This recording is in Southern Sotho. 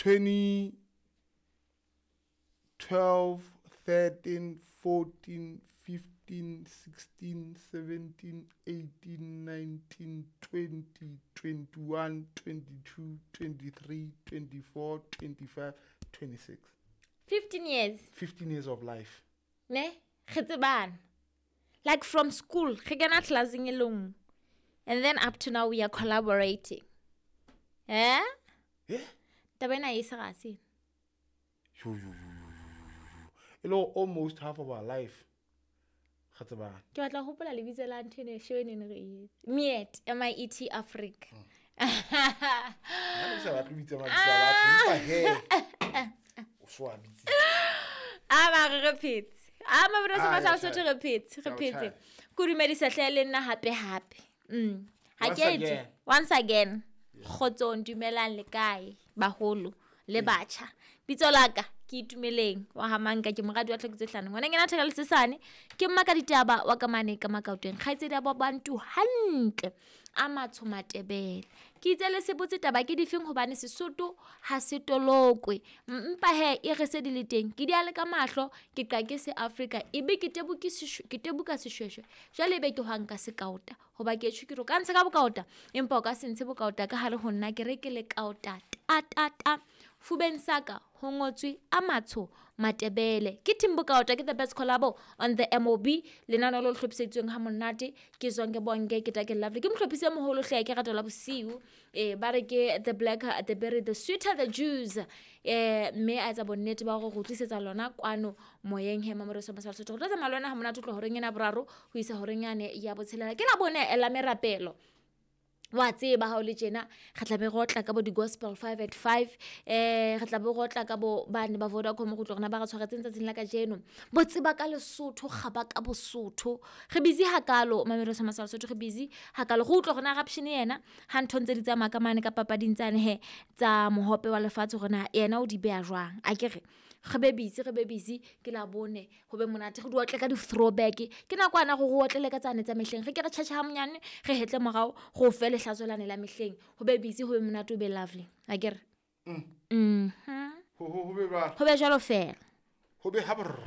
2012, 13, 14, 15, 16, 17, 18, 19, 20, 21, 22, 23, 24, 25, 26. 15 years. 15 years of life. Ne? Re tsebana. Like from school, re kena classeng e le nngwe. And then up to now we are collaborating. Eh? Yeah. Taba ena e se ga se. Yo, yo, yo, yo, yo, yo. E le gore almost half of our life. Ga tsebana. Ke batla ho hopola lebitso la ntho eno show eno ne re e etsa. Miet, M I E T Africa. Nna ke sa batle ho bitsa mabitso a batho, empa he, o so a bitsitse. A ba re re phetse. A mabitso a Ah, sa ya Sotho tjhaya. re phetse, re Ya o phetse. tjhaya. Ke o dumedisa hle le nna hape hape. Ha Once ke etse. again. Once again. Kgotsong, dumelang le kae baholo le batjha. Bitso la ka ke Itumeleng wa ha Manka, ke moradi wa Tlhekotse Hlano. Ngwana ngena theka le sesane, ke mma ka ditaba wa ka mane ka Makauteng. Kgaitsedi ya bo Bantu hantle a matsho Matebele. Ke itse le se botse taba ke difeng hobane Sesotho ha se tolokwe. Mpa he e re se di le teng. Ke di a le ka mahlo, ke qa ke se Afrika, ebe ke tebuke seshwe, ke tebuka seshweshwe. Jwale ebe ke hwang ka sekaota hoba ke tjho ke re o ka ntsha ka bokaota, empa o ka se ntshe bokaota ka hare ho nna, ke re ke le kaota ta ta ta. Fubeng saka ho ngotswe a matsho Matebele. Ke Team Bokaota, ke the best collabo on the MOB. Lenaneo le hlophiseditsweng ha monate ke Zonke Bonke, ke Take Lovely. Ke mohlophisi e moholo hle, ke rata la bosiu. Ba re ke the blacker the berry, the sweeter the juice. Mme a etsa bonnete ba hore re tlisetsa lona kwano moyeng he Mamelodi Sundowns sa Lesotho. Re tlo tsamaya le wena ha monate ho tloha horeng ena ya boraro ho isa horeng yane ya botshelela. Ke la bone la merapelo. Wa tseba ha o le tjena, re tla be re otla ka bo di-gospel 5 at 5, re tla be re otla ka bo bane ba Vodacom go tloga rena ba re tshwaretseng tsatsing la kajeno. Bo tseba ka Lesotho, kgaba ka Bosotho. Re busy hakalo, Mamelodi Sundowns sa Lesotho, re busy hakalo. Re utlwa rona Rapshane yena, ha ntho ntse di tsamaya ka mane ka papading tsane he, tsa mohope wa lefatshe hore na yena o di beha jwang. Akere, re be busy, re be busy, ke la bone, ho be monate, re di otle ka di-throwback. Ke nakwana hore re otlele ka tsane tsa mehleng. Re ke re tjhatjha ha monyane, re hetle morao, re o fe lehlaso lane la mehleng. Ho be busy, ho be monate, ho be lovely. Akere? Ho, ho, ho be jwalo. Ho be jwalo feela. Ho be ha brr.